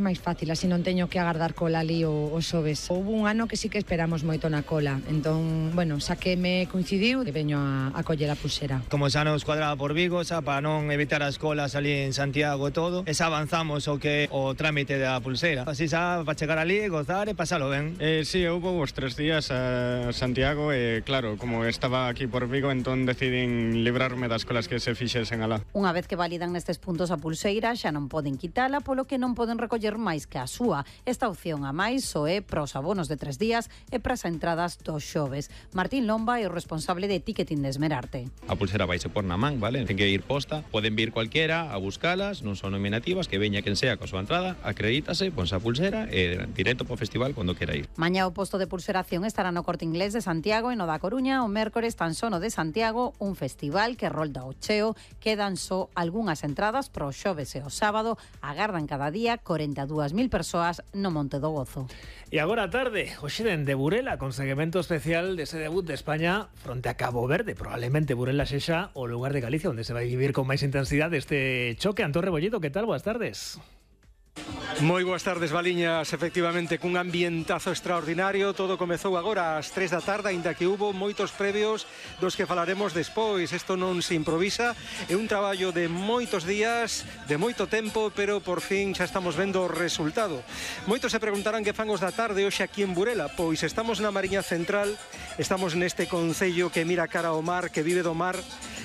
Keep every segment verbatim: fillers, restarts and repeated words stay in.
máis fácil, así non teño que agardar cola ali o, o xoves. Houve un ano que sí que esperamos moito na cola, entón, bueno, xa que me coincidiu, veño a, a coller a pulsera. Como xa nos cuadraba por Vigo, xa para non evitar as colas ali en Santiago e todo, e xa avanzamos o que o trámite da pulsera. Así xa para chegar ali, gozar e pasalo ben. Eh, sí, houve os tres días a Santiago e, claro, como estaba aquí por Vigo, entón decidín librarme das colas que se fixesen alá. Unha vez que validan nestes puntos a pulseira, xa non poden quitala, polo que non poden recoller máis que a súa. Esta opción a máis só é para os abonos de tres días e para as entradas dos xoves. Martín Lomba é o responsable de ticketing de Esmerarte. A pulsera vaise por na man, vale? Ten que ir posta, poden vir cualquiera a buscalas, non son nominativas, que veña quen sea coa súa entrada, acredítase, ponse a pulsera e directo para o festival cando quera ir. Mañá o posto de pulseración estará no Corte Inglés de Santiago e no da Coruña, o mércores tan só no de Santiago, un festival que rolda o cheo, quedan só algunhas entradas para o xoves e o sábado, agardan cada día corenta e dúas mil persoas no Monte do Gozo. E agora a tarde, hoxe dende Burela, con seguimento especial dese debut de España fronte a Cabo Verde. Probablemente Burela sexa o lugar de Galicia onde se vai vivir con máis intensidade este choque. Antón Rebolledo, que tal? Boas tardes. Moi boas tardes, Valiñas. Efectivamente, cun ambientazo extraordinario. Todo comezou agora ás tres da tarde, aínda que hubo moitos previos dos que falaremos despois. Isto non se improvisa, é un traballo de moitos días, de moito tempo, pero por fin xa estamos vendo o resultado. Moitos se preguntarán que fan os da tarde hoxe aquí en Burela. Pois estamos na Mariña Central, estamos neste concello que mira cara ao mar, que vive do mar,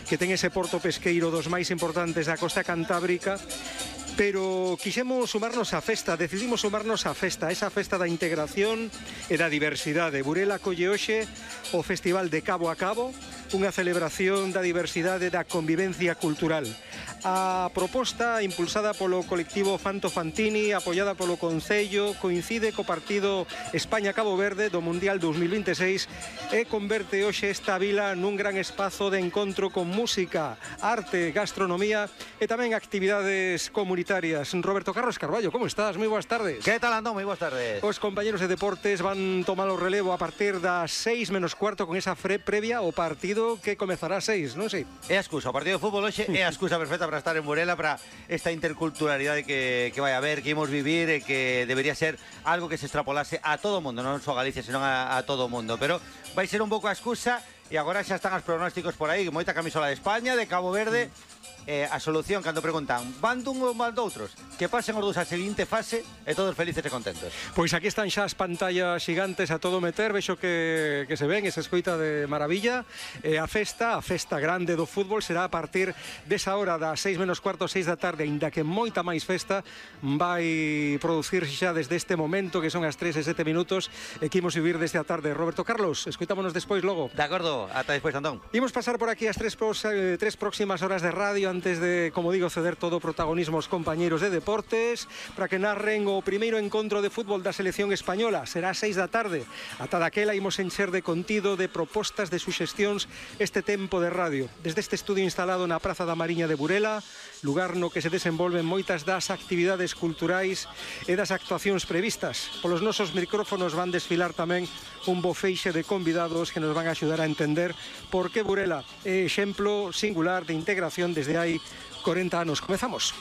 que ten ese porto pesqueiro dos máis importantes da costa cantábrica. Pero quixemos sumarnos á festa, decidimos sumarnos á festa, esa festa da integración e da diversidade. Burela colle hoxe o Festival de Cabo a Cabo, unha celebración da diversidade e da convivencia cultural. A proposta impulsada polo colectivo Fanto Fantini, apoiada polo Concello, coincide co partido España-Cabo Verde do Mundial dos mil vinte e seis e converte hoxe esta vila nun gran espazo de encontro con música, arte, gastronomía e tamén actividades comunitarias. Roberto Carlos Carballo, como estás? Moi boas tardes. Que tal, Andón? Moi boas tardes. Os compañeros de deportes van tomar o relevo a partir das seis menos cuarto con esa fre previa o partido que comezará ás seis, non sei? É a excusa, o partido de fútbol hoxe é a excusa perfecta para estar en Burela, para esta interculturalidade que, que vai haber, que imos vivir e que debería ser algo que se extrapolase a todo o mundo, non só a Galicia, senón a, a todo o mundo, pero vai ser un pouco a excusa e agora xa están os pronósticos por aí, moita camisola de España, de Cabo Verde. Eh, a solución, cando preguntan van dun ou van doutros, que pasen os dous a seguinte fase e todos felices e contentos. Pois aquí están xa as pantallas xigantes a todo meter, vexo que, que se ven, esa escoita de maravilla. eh, A festa, a festa grande do fútbol será a partir desa hora das seis menos cuarto, seis da tarde, ainda que moita máis festa vai producirse xa desde este momento, que son as tres e sete minutos, e que imos vivir desde a tarde. Roberto Carlos, escoitámonos despois logo. De acordo, ata despois, Antón. Imos pasar por aquí as tres, pros, eh, tres próximas horas de radio antes de, como digo, ceder todo o protagonismo aos compañeiros de deportes para que narren o primeiro encontro de fútbol da selección española. Será a seis da tarde. Ata daquela imos encher de contido, de propostas, de suxestións este tempo de radio. Desde este estudio instalado na Praza da Mariña de Burela, lugar no que se desenvolven moitas das actividades culturais e das actuacións previstas. Polos nosos micrófonos van desfilar tamén un bo feixe de convidados que nos van a axudar a entender por que Burela é exemplo singular de integración desde hai corenta anos. Comezamos.